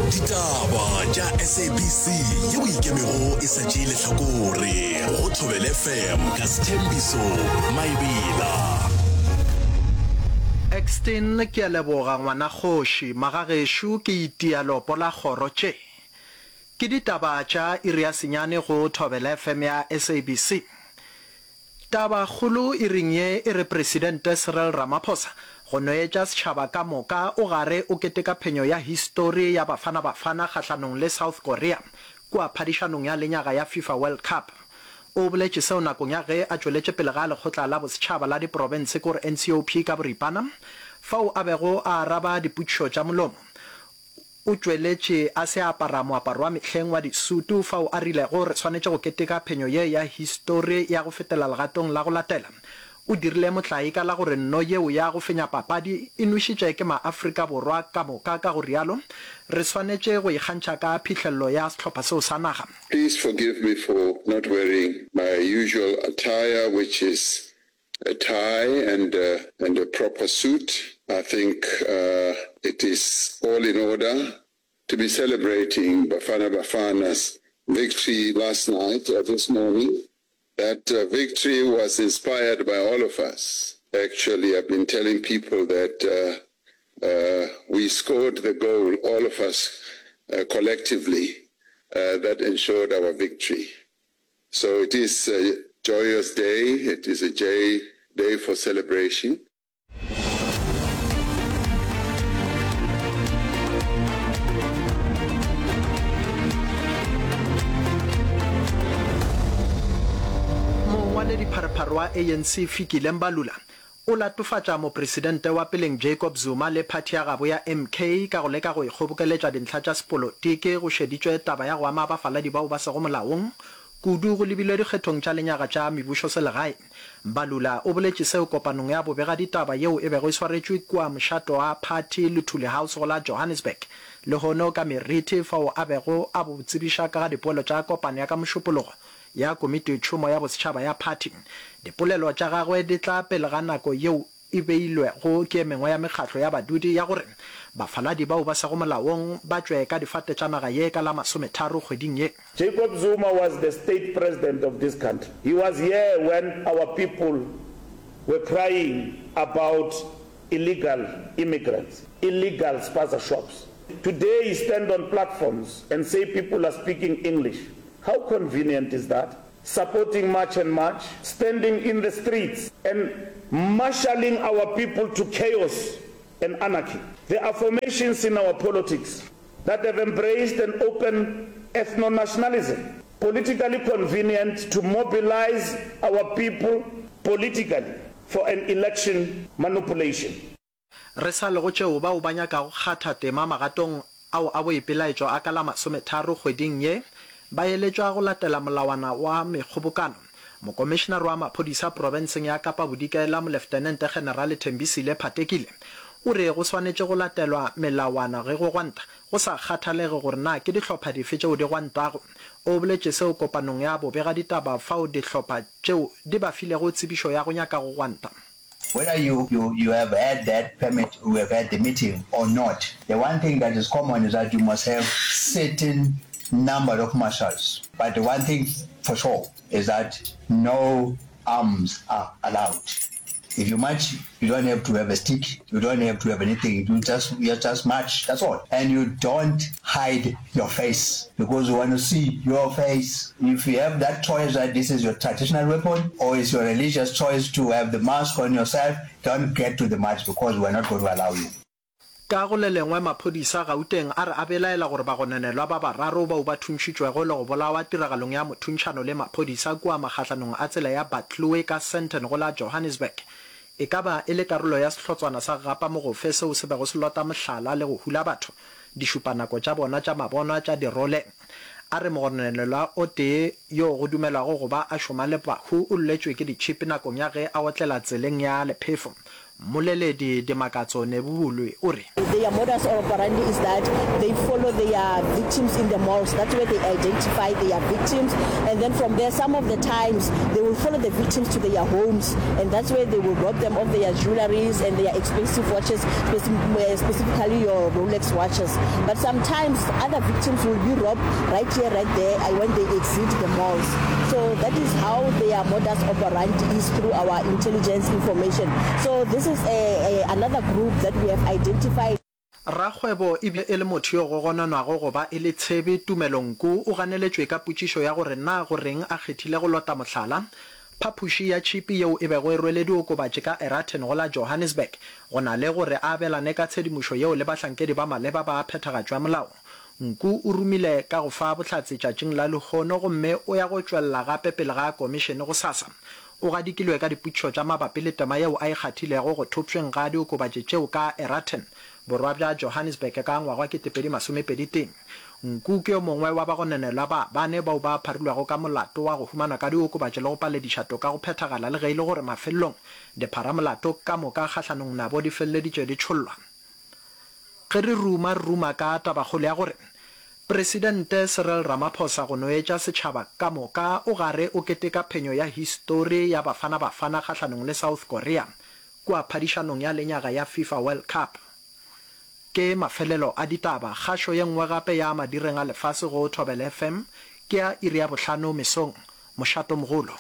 Ditaba tša SABC yeo e ikemego e sa tšee lehlakore go Thobela FM ka Sthembiso Maebela. Exton ke a leboga ngwana kgoši, magagešo ke itia leopo la kgoro tše. Ke ditaba tša iri ya senyane go Thobela FM ya SABC. Tabakgolo iring ye e re Presidente Cyril Ramaphosa go noetša setšhaba ka moka o gare o keteka phenyo ya histori ya Bafana Bafana kgahlanong le South Korea kua phadišanong ya lenyaga ya FIFA World Cup. O boletše seo nakong ya ge a tšweletše pele ga Lekgotla la Bosetšhaba la Diprofense kore NCOP ka boripana fao a bego a araba dipotšišo tša molomo. O tšweletše a se a apara moaparo wa mehleng wa disutu fao a rilego re swanetše go keteka phenyo ye ya histori ya go fetela legatong la go latela. O dirile motlae ka la gore nno yeo ya go fenya papadi e nwešitše ke maAfrika Borwa ka moka ka go rialo re swanetše go ikgantšha ka phihlelelo ya sehlopha seo sa naga. Please forgive me for not wearing my usual attire which is a tie and and a proper suit. I think it is all in order to be celebrating Bafana Bafana's victory last night or this morning. That victory was inspired by all of us. Actually, I've been telling people that we scored the goal, all of us collectively, that ensured our victory. So it is a joyous day, it is a jay day for celebration. Mongwaledipharephare wa ANC Fikile Mbalula O latofatša Mopresidente wa peleng Jacob Zuma le phathi ya gabo ya MK ka go leka go ikgobokeletša dintlha tša sepolotiki go šeditšwe taba ya go ama bafaladi bao ba sego molaong kudu go lebilwe dikgethong tša lenyaga tša mebušoselegae. Mbalula o boletše seo kopanong ya bobegaditaba yeo e bego e swaretšwe kua mošato wa phathi Luthuli House go la Johannesburg lehono ka meriti fao a bego a bo tsebiša ka ga dipoelo tša kopano ya ka Mošupologo ya Komititšhomo ya Bosetšhaba ya Phathi. Dipolelo tša gagwe di tla pele ga nako yeo e beilwego ke e mengwe ya mekgatlo ya badudi ya gore bafaladi bao ba sego molaong ba tšwe ka difate tša naga ye ka la masometharo kgweding ye. Jacob Zuma was the state president of this country. He was here when our people were crying about illegal immigrants, illegal spaza shops. Today he stand on platforms and say people are speaking English. How convenient is that? Supporting March and March, standing in the streets and marshalling our people to chaos and anarchy. There are formations in our politics that have embraced an open ethno-nationalism, politically convenient to mobilize our people politically for an election manipulation. Re sa le go tšeo bao ba nyakago kgatha tema magatong ao a boipelaetšo a ka la masometharo kgweding ye ba eletšwa go latela molawana wa mekgobokano. Mokomišenare wa maphodisa profenseng ya Kapa Bodikela Moleftenente Generale Thembisile Phatekile o re go swanetše go latelwa melawana ge go gwanta go sa kgathalege gore na ke dihlopha dife tšeo di gwantago. O boletše seo kopanong ya bobegaditaba fao dihlopha tšeo di ba filego tsebišo ya go nyaka go gwanta. Whether you, you, you have had that permit, you have had the meeting or not, the one thing that is common is that you must have certain number of marshals. But the one thing for sure is that no arms are allowed. If you march, you don't have to have a stick, you don't have to have anything, you just, you just march, that's all. And you don't hide your face because we want to see your face. If you have that choice that this is your traditional weapon or it's your religious choice to have the mask on yourself, don't get to the march because we're not going to allow you. Ka go le lengwe, maphodisa Gauteng a re a belaela gore bagononelwa ba bararo bao ba thuntšhitšwego le go bolawa tiragalong ya mothuntšhano le maphodisa kua magahlanong a tsela ya Buccleuch ka Sandton go la Johannesburg e ka ba e le karolo ya sehlotswana sa gapa mogofe seo se bego se lota mohlala le go hula batho dišupanako tša bona tša mabonwa tša dirole. A re mogononelwa o tee yo go dumelwago go ba a šoma le bahu o lletšwe ke ditšhipi nakong ya ge a otlela tseleng ya lephefo. Mmoleledi Dimakatso Nebulwe o re. Their modus operandi is that they follow their victims in the malls, that's where they identify their victims and then from there some of the times they will follow the victims to their homes and that's where they will rob them of their jewelries and their expensive watches, specifically your Rolex watches. But sometimes other victims will be robbed right here, right there when they exit the malls. So that is how their modus operandi is through our intelligence information. So this is a, a, another group that we have identified. Rakgwebo e bile e le motho yo go gononwago go ba e le tshebi, Tumelo Nku, o ganeletšwe ka potšišo ya gore na go reng a kgethile go lota mohlala phapoši ya tšhipi yeo e bego e rwele diokobatši ka Eraton go la Johannesburg go na le gore a abelane ka tshedimošo yeo le bahlankedi ba maleba ba phethagatšo ya molao. Nku o rumile ka go fa bohlatse tšatšing la lehono gomme o ya go tšwelela gape pele ga komišene gosasa. O gadikilwe ka dipotšišo tša mabapi le tema yeo a e kgathilego go thopšweng ga diokobatši tšeo ka Eraton, borwa bja Johannesburg ka ngwaga wa 2021. Nku ke yo mongwe wa bagononelwa ba bane bao ba pharilwego ka molato wa go humanwa ka diokobatši le go palediša toka go phethagala le ge e le gore mafelelong dipharamolato ka moka kgahlanong nabo di feleleditše di tšhollwa. Ge re ruma, re ruma ka tabakgolo ya gore Presidente Cyril Ramaphosa go no etša setšhaba ka moka o gare o keteka phenyo ya histori ya Bafana Bafana kgahlanong le South Korea kua phadišanong ya lenyaga ya FIFA World Cup. Ke mafelelo a ditaba. Kgašo ye nngwe gape ya madireng a lefase go Thobela FM ke ya iri ya bohlano mesong. Mošatomogolo.